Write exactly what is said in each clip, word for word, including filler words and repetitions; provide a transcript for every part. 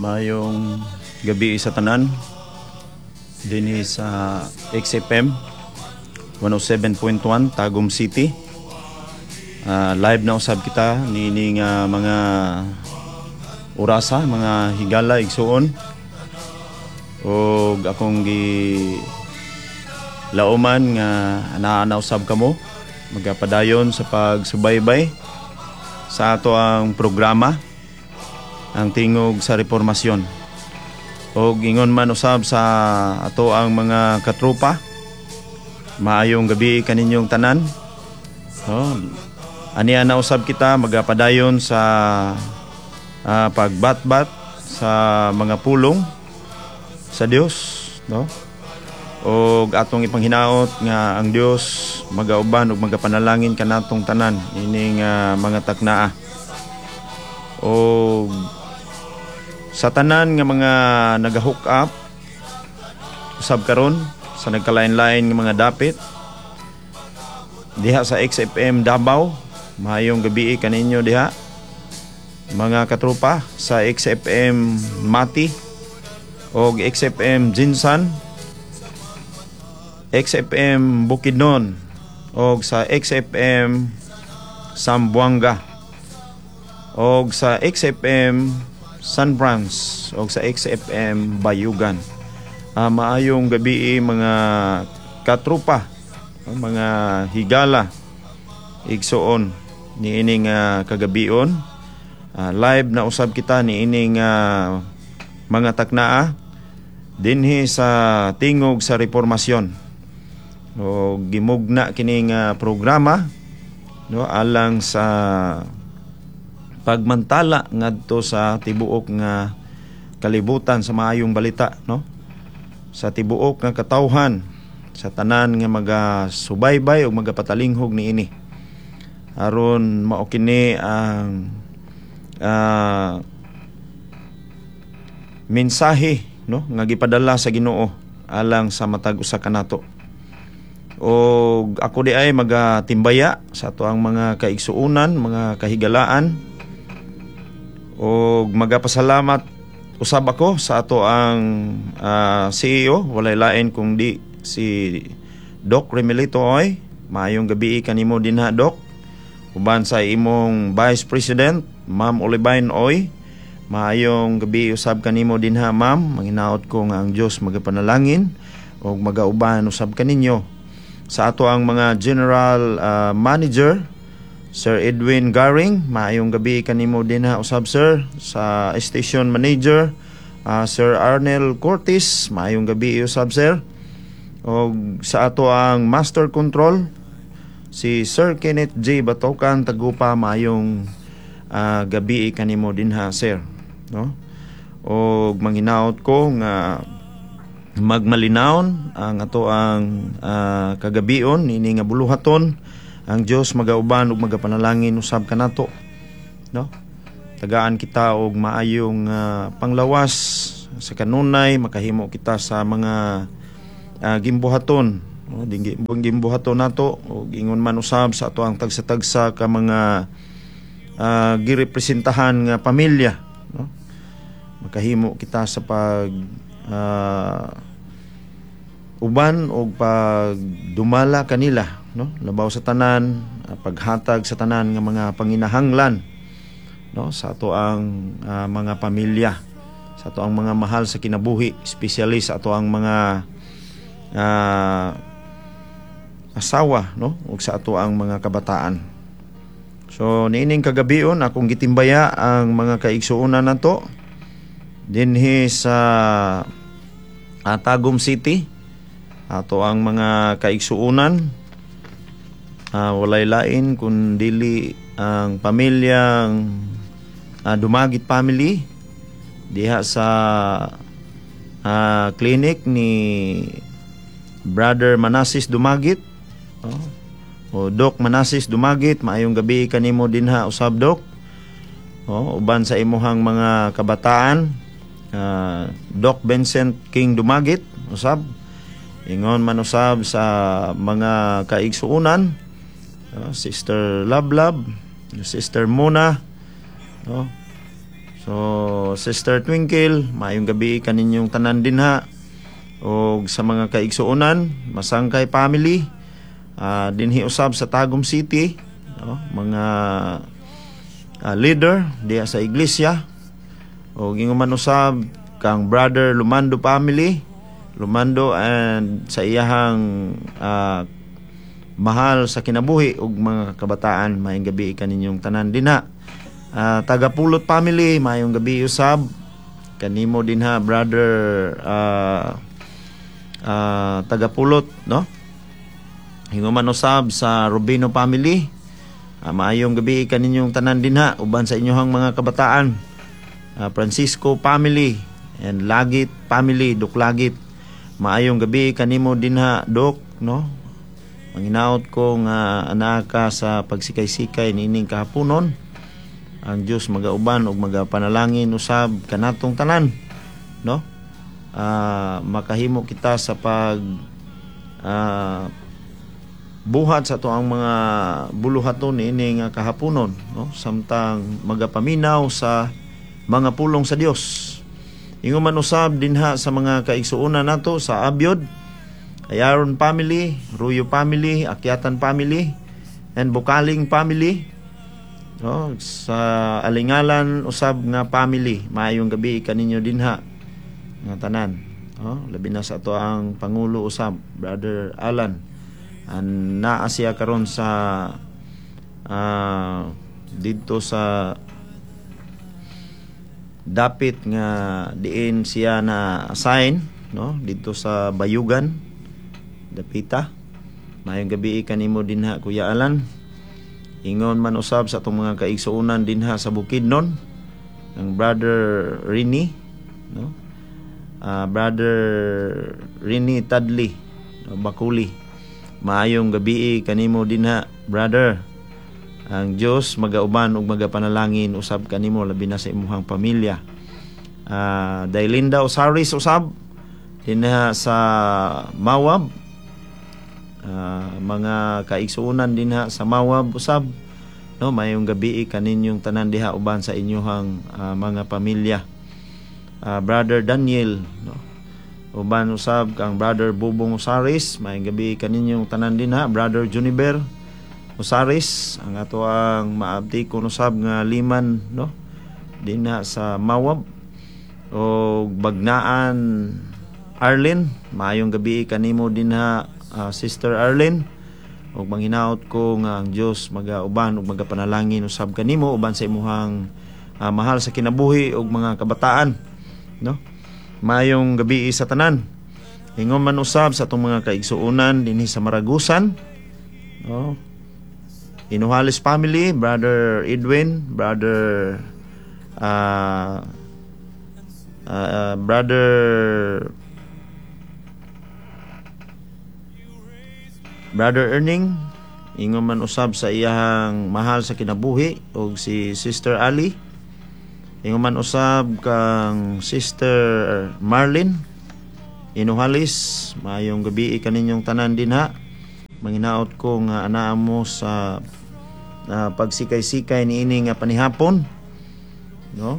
Maayong gabi sa tanan dinhi sa X F M one oh seven point one Tagum City. Ah, live na usab kita niini nga mga orasa, mga higala, igsuon. Og akong gi lauman nga anaa na usab kamo magapadayon sa pagsubaybay sa ato ang programa, Ang Tingog sa Reformasyon. Og ingon man usab sa ato ang mga katropa, maayong gabi kaninyong tanan. Oh, aniya na usab kita magapadayon sa ah, pagbatbat sa mga pulong sa Dios, no? Og atong ipanghinaot nga ang Dios magauban ug magapanalangin kanatong tanan ining ah, mga taknaa. Og sa tanan nga mga naga-hook up usab karon sa nagkalain-lain nga mga dapit diha sa X F M Davao, maayong gabi kaninyo diha, mga katropa sa X F M Mati og X F M Gensan, X F M Bukidnon og sa X F M Zamboanga og sa X F M San Franz og sa X F M Bayugan. Ah, maayong gabi, mga katropa, mga higala, igsuon niining uh, kagabion. Ah, live na usab kita niining uh, mga taknaa dinhi sa Tingog sa Reformasyon. O gimugna kining uh, programa, no, alang sa pagmantala ngadto sa tibuok nga kalibutan sa maayong balita, no, sa tibuok nga katawhan, sa tanan nga magasubaybay o magapatalinghog niini, aron mao kini ang uh, mensahe, no, nga gipadala sa Ginoo alang sa matag usa kanato. Og ako di ay magatimbaya sa ato ang mga kaigsuonan, mga kahigalaan, og magapasalamat usab ako sa ato ang uh, C E O, walay lain kung di si Doc Remelito Oy. Maayong gabi kanimo dinha, Doc, uban sa imong Vice President, Ma'am Olivine Oy. Maayong gabi usab kanimo dinha, Ma'am. Manginaot ko nga ang Dios magapanalangin ug magauban usab kaninyo. Sa ato ang mga General uh, Manager, Sir Edwin Garing, maayong gabi kanimo dinha usab, sir. Sa Station Manager, uh, Sir Arnel Cortez, maayong gabi usab, sir. Og sa ato ang Master Control, si Sir Kenneth J. Batokan Tagupa, maayong uh, gabi kanimo dinha, sir, no? Og manghinaot ko nga magmalinawon ang ato ang uh, kagabion ini nga buluhaton. Ang Dios magauban ug magapanalangin usab kanato, no? Tagaan kita og maayong uh, panglawas sa kanunay makahimo kita sa mga uh, gimbuhaton, no, dingi gimbuhaton nato. Og ingon man usab sa ato ang tagsa-tagsa ka mga uh, girepresentahan nga pamilya, no, makahimo kita sa pag uh, uban og pagdumala kanila, no, labaw sa tanan, uh, paghatag sa tanan nga mga panginahanglan, no, sa ato ang uh, mga pamilya, sa ato ang mga mahal sa kinabuhi, especially sa ato ang mga uh, asawa, no, ug sa ato ang mga kabataan. So niining kagabion, akong gitimbaya ang mga kaigsuonan nato dinhi sa uh, Tagum City, ato ang mga kaigsuonan, uh, walay lain kun dili ang pamilyang uh, Dumagit family diha sa uh, clinic ni Brother Manasis Dumagit, oh. O Doc Manasis Dumagit, maayong gabi kanimo dinha usab, Doc. Oh, uban sa imuhang mga kabataan, uh, Doc Vincent King Dumagit usab. Ingon man usab sa mga kaigsuonan, uh, Sister Lablab, Sister Mona, no? So, Sister Twinkle, maayong gabi kaninyong tanan dinha. Og sa mga kaigsuonan, Masangkay family, uh, dinhi usab sa Tagum City, no? Mga uh, leader diha sa iglesia. Og ingon man usab kang Brother Lumando family, Lumando and sa iyahang uh, mahal sa kinabuhi ug mga kabataan, maayong gabi kaninyong tanan dinha. Uh, Tagapulot family, maayong gabi usab kanimo dinha, Brother uh, uh, Tagapulot, no? Ingon man usab sa Rubino family, uh, maayong gabi kaninyong tanan dinha uban sa inyong mga kabataan. Uh, Francisco family and Lagit family, Dok Lagit. Maayong gabi kanimo dinha, Dok, no? Manginaot ko nga anaa ka sa pagsikay-sikay niining kahaponon. Ang Dios magauban ug magapanalangin usab kanatong tanan, no? Uh, makahimo kita sa pag uh, buhat sa atoang mga buluhaton niini nga kahaponon, no? Samtang magapaminaw sa mga pulong sa Dios. Ingon man usab dinha sa mga kaigsuonan nato sa Abyod, Ayaron family, Ruyo family, Akyatan family, and Bukaling family, no? Sa Alingalan usab nga family, maayong gabi kaninyo dinha nga tanan, no? Labi na sa atoang pangulo usab, Brother Alan. An naa siya karon sa uh, didto sa dapit nga diin siya na assign, no, didto sa Bayugan dapita. Maayong gabi kanimo dinha, Kuya Alan. Ingon man usab sa atong mga kaigsuonan dinha sa Bukidnon, ang Brother Rini, no, uh, Brother Rini Tadli, no, Bakuli. Maayong gabi kanimo dinha, brother. Ang Dios magauban ug magapanalangin usab kanimo, labi na sa imuhang pamilya. Uh, Dailinda Osaris usab dinha sa Mawab, uh, mga kaigsuonan dinha sa Mawab usab, no, mayong gabi kaninyong tanan diha uban sa inyong uh, mga pamilya. Uh, Brother Daniel, no, uban usab kang Brother Bubong Osaris, mayong gabi kaninyong tanan dinha. Brother Juniber Osaris, ang ato ang maabtikon usab nga liman, no, dinha sa Mawab. O Bagnaan Arlene, maayong gabi kanimo dinha, uh, Sister Arlene, ug manghinaot ko nga ang Dios magauban ug magapanalangin usab kanimo uban sa imuhang uh, mahal sa kinabuhi ug mga kabataan, no? Maayong gabi sa tanan. Ingon man usab sa atong mga kaigsuonan dinhi sa Maragusan, no, Inuhales family, Brother Edwin, Brother uh, uh, Brother Brother Erning, ingon man usab sa iyahang mahal sa kinabuhi og si Sister Ali. Ingon man usab kang Sister Marlene Inuhalis, maayong gabi kaninyong tanan dinha. Manginaot ko nga anaa mo sa uh, pagsikay-sikay niini nga panihapon, no?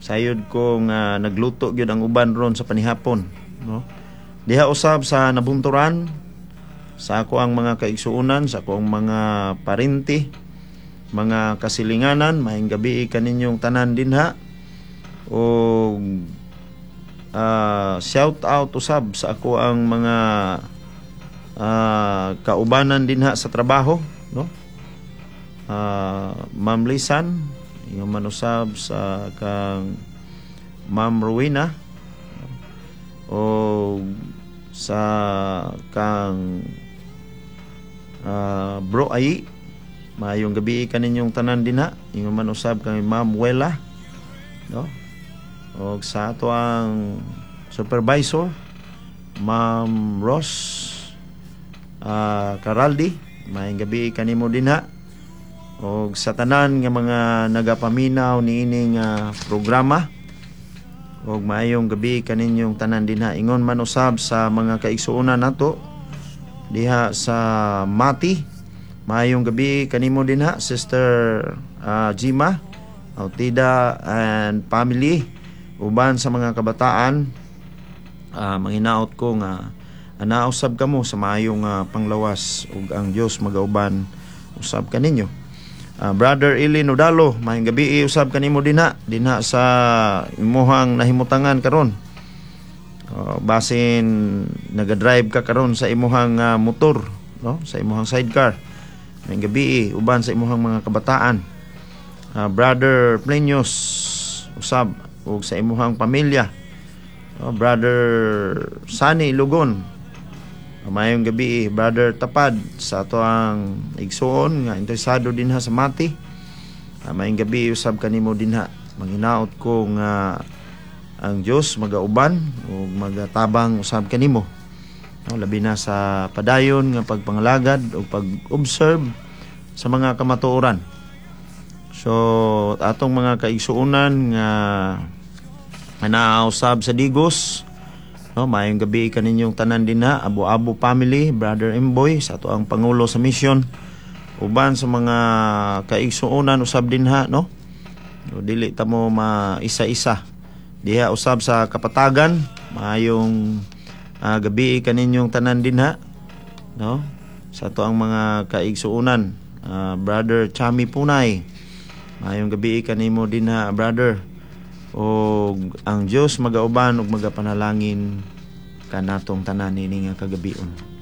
Sayod ko nga nagluto gyud ang uban ron sa panihapon, no? Diha usab sa Nabunturan, sa ako ang mga kaigsuonan, sa ako ang mga parinti, mga kasilinganan, maayong gabi kaninyong tanan dinha. O uh, shout out usab sa ako ang mga uh, kaubanan dinha sa trabaho, no? Uh, Ma'am Lisan, ingon man usab sa kang Ma'am Rowena o sa kang uh, Bro Ay, maayong gabi kaninyong tanan dinha. Ingon man usab kang Ma'am Wela, no, og sa ato ang supervisor, Ma'am Ross uh, Caraldi, maayong gabi kanimo dinha. Og sa tanan nga mga nagapaminaw niining uh, programa, og maayong gabi kaninyong tanan dinha. Ingon man usab sa mga kaigsuonan nato diha sa Mati, maayong gabi kanimo dinha, Sister uh, Jima. Autida and family, uban sa mga kabataan, uh, manghinaot ko nga anaa usab kamo sa maayong uh, panglawas ug ang Dios magauban usab kaninyo. Uh, Brother Eli Nodalo, maayong gabi usab kanimo dinha dinha sa imuhang nahimutangan karon. Uh, basin naga-drive ka karon sa imuhang uh, motor, no? Sa imuhang sidecar. Maayong gabi uban sa imuhang mga kabataan. Uh, Brother Plenius usab ug sa imuhang pamilya. Uh, Brother Sunny Lugon, maayong gabi. Brother Tapad, sa ato ang igsuon nga interesado dinha sa Mati. Uh, maayong gabi usab kanimo dinha. Manghinaot ko nga ang Dios magauban ug magatabang usab kanimo. No, labi na sa padayon nga pagpangalagad o pag-observe sa mga kamatuoran. So atong mga kaigsuonan nga naa usab sa Digos, no, maayong gabi kaninyong tanan dinha, Abo-Abo family, Brother Emboy, sa ato ang pangulo sa mission, uban sa mga kaigsuonan usab dinha, no? No, dili ta mo maisa-isa. Diha usab sa Kapatagan, maayong uh, gabi kaninyong tanan dinha, no? Sa ato ang mga kaigsuonan, uh, Brother Chami Punay. Maayong gabi kanimo dinha, brother, og ang Dios magauban ug magapanalangin kanatong tanan ini nga kagabion.